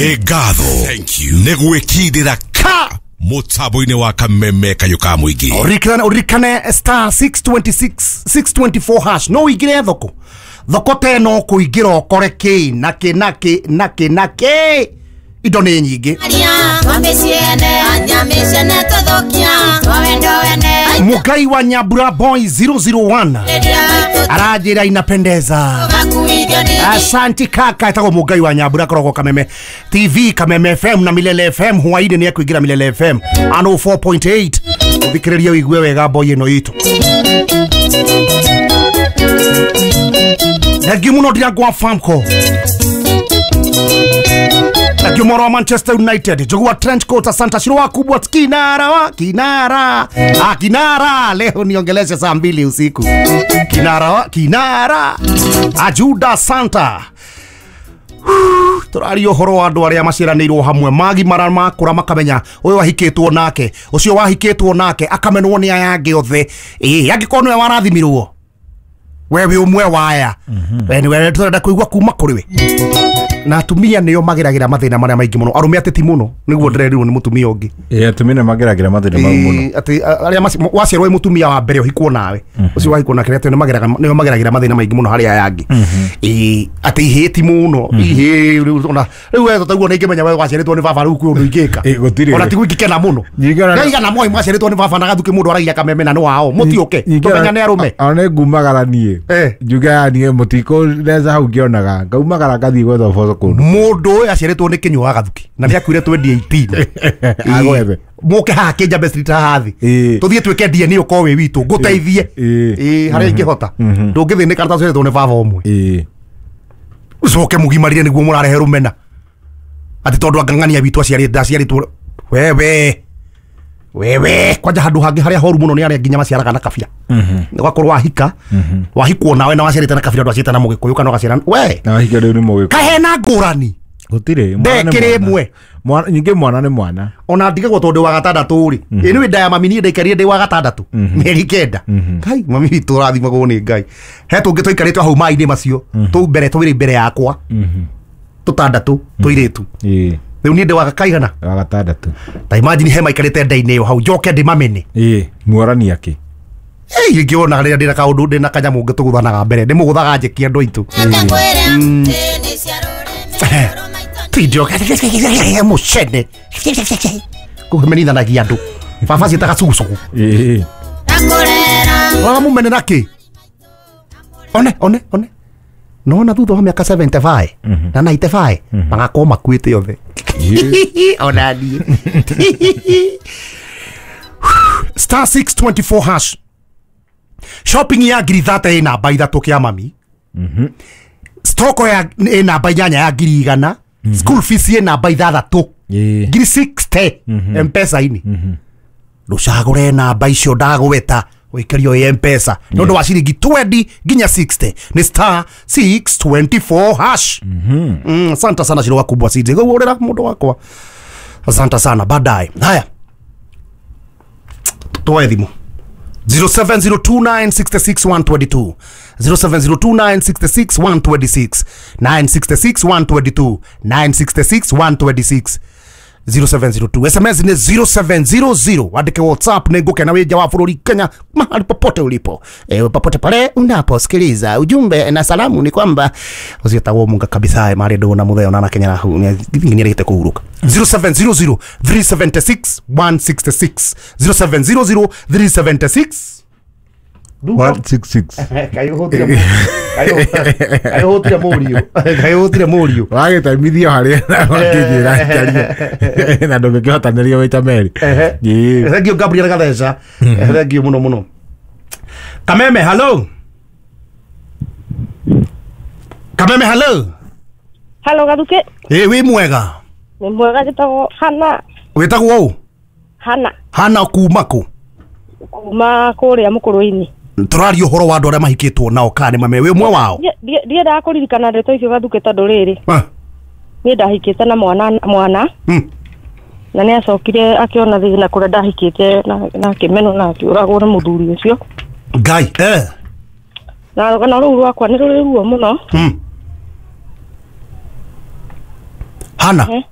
Ngatho nĩ gwĩkindĩra ka mũtambo-inĩ wa kameme kayũ ka mũingĩ. Ũririkane star 626 624 hash no ũingĩre thoko thoko ta ĩno ũkũingĩra ũkore kĩ na kĩ na kĩ na kĩ na kĩ, indo nĩ nyingĩ. Mugai wa Nyambura Boy 001 aranjĩra inapendeza. Asante kaka, etagwo Mugai wa Nyambura, akoragwo Kameme TV, Kameme FM na Milele FM. Hwainĩ nĩ ekũingĩra Milele FM 104.8. Ũthikĩrĩrie ũigue wega boy ĩno itũ. Thengiũ mũno Ndirangwa Famco, thengiũ mwaro wa Manchester United, Njũgũ wa trench coat, asante Shiro wa kubwa, kinara wa kinara, ah, kinara leo niongeleshe saa 2 usiku, kinara wa kinara Ajuda Santa. Tũraria ũhoro wa andũ arĩa maciaranĩirwo hamwe magimara makũra makamenya ũyũ ahikĩtwo nake, ũcio wahikĩtwo nake akamenwo nĩ aya angĩ othe. Ĩĩ, angĩkorwo nĩwe warathimirwo we wĩ ũmwe wa aya, we nĩwe tũrenda kũigua kuma kũrĩ we. Na atumia nĩo mageragĩra mathĩna marĩa maingĩ mũno, arũme ateti mũno nĩguo ndĩrerirwo nĩ mũtumia ũngĩ. Ĩĩ, atumia nĩ mageragĩra mathĩna mau mũno. Ĩĩ, atĩ arĩa waciarwo wĩ mũtumia wa mbere ũhikwo nawe, ũcio wahikwo nake atĩ nĩo mageragĩra mathĩna maingĩ mũno harĩ aya angĩ. Ĩĩ, atĩ ihĩĩ ti mũno, ihĩĩ rĩu ona rĩu we tũtaguo nĩ ingĩmenya we waciarĩtwo nĩ baba rĩu kwĩ ũndũ ingĩka. Ĩĩ, gũtirĩ. Ona tiguo ingĩkena mũno. Ngaigana moi mwaciarĩtwo nĩ baba na gathuke mũndũ aragia kameme na nĩ wao, mũtiũke tũmenyane arũme. Ona nĩ ngumagara niĩ. Njuge ya niĩ mũtikũndeca hau ngĩonaga, ngaumagara ngathiĩ gwetha ũboco kũndũ. Mũndũ ũyũ aciarĩtwo nĩ Kĩnyua wa Gathuki na nĩ akuire 2018. Agwethe. Mũke haha Kĩnjambe Street haha thĩ. Tũthiĩ twĩke DNA ũkorwo wĩ witũ, ngũteithie. Ĩĩ, harĩa ingĩhota. Ndũngĩthĩnĩka tũtaciarĩtwo nĩ baba ũmwe. Ũcoke mũgimarire nĩguo mũrarehe rũmena. Atĩ tondũ angang'ania witũ aciarĩtwo wewe. Wewe kwanja handũ hangĩ harĩa horu mũno nĩ arĩa nginya maciaraga na kabira. Ũgakorwo wahika, wahikwo nawe na waciarĩte na kabira, ndwaciarĩte na mũgĩkũyũ kana ũgaciara we. Na wahika rĩu nĩ mũgĩkũyũ. Kahena ngũrani. Gũtirĩ, mwana nĩ Ndekĩrĩ mwana. ĩmwe. Nyingĩ mwana nĩ mwana. Ona ndigagwo tondũ wa gatandatũ rĩ. Ĩ nĩ nda ya mami niĩ ndaikarire ndĩ wa gatandatũ. Mĩeri 9. Ngai mami witũ ũrathimagwo nĩ Ngai. He tũngĩ twaikarĩte hau maĩ-inĩ macio. Tũu mbere twĩrĩ mbere yakwa. Tũtandatũ tũirĩtu. Rĩu niĩ ndĩ wa kaigana? Wa gatandatũ. Ta imagine he maikarĩte nda-inĩ ĩyo hau njoke ndĩmamene. Ĩĩ, muorani akĩ. Ĩĩ, ingĩona rĩrĩa ndĩna kaũndũ ndĩna kanyamũ ngĩtũgũthanaga mbere, ndĩmũgũthaga njĩki andũ aitũ. Tindio mũcene kũmenithanagia andũ. Baba ciĩtaga cugucugu. Ĩĩ. Ũramũmene nakĩ? One, one, one. Nona thutha wa mĩaka 75 na 95 magakorwo makuĩte othe. Ona niĩ. Star 624 hash. Shopping ya ngiri 30 ĩ namba 3 kĩa mami. Stoko ya ĩ namba 8 ya ngiri 100. School fees ĩ namba 6. Ngiri 60 M-Pesa-inĩ. Ndũcagũre namba icio ndagweta ũikĩrio ĩ M-Pesa nĩ ũndũ wa ciringi 20 nginya 60 nĩ star 624 hash. Asante sana Shiro wakubwa CJ. Gũgũrĩra mũndũ wakwa. Asante sana baadaye. Haya. Tuoe thimũ. 0702966 122 0702966 126 966 122 966 126 0702 SMS ni 0700. Andike WhatsApp nĩ ngũkena wĩ nja wa bũrũri Kenya mahali popote ulipo. Popote pale unaposikiliza ujumbe na salamu ni kwamba ũcio tagwo munga kabisa marĩ ndũgũ na mũtheo na Kenya rahu nĩ arĩte kũhurũka. 0700 376 166 0700 376 166. Kayũhũtire mũriũ. Kayũhũtire mũriũ. Wagĩtaimithio harĩa wakĩnjĩra njarie. Na ndũngĩkĩhotanĩria maita merĩ. Ĩĩ. Thank you Gabriel Gatheca. Thank you mũno mũno. Kameme hello. Kameme hello. Hello Gathuke. Ĩĩ wĩ mwega. Nĩ mwega, njĩtagwo Hana. Wĩtagwo ũ? Hana. Hana kuma kũ? Kuma kũrĩa Mũkũrwe-inĩ. Tũraria ũhoro wa andũ arĩa mahikĩtwo nao kana nĩ mame wĩ ũmwe wao? Ndiendaga kũririkana ndeto icio Gathuke tondũ rĩrĩ. Niĩ ndahikĩte na mwana. Na nĩ acokire akĩona thĩna kũrĩa ndahikĩte na akĩmenwo na akĩũragwo nĩ mũthuri ũcio. Ngai. Na rũgano rũu rwakwa nĩ rũrĩ ruo mũno. Hana.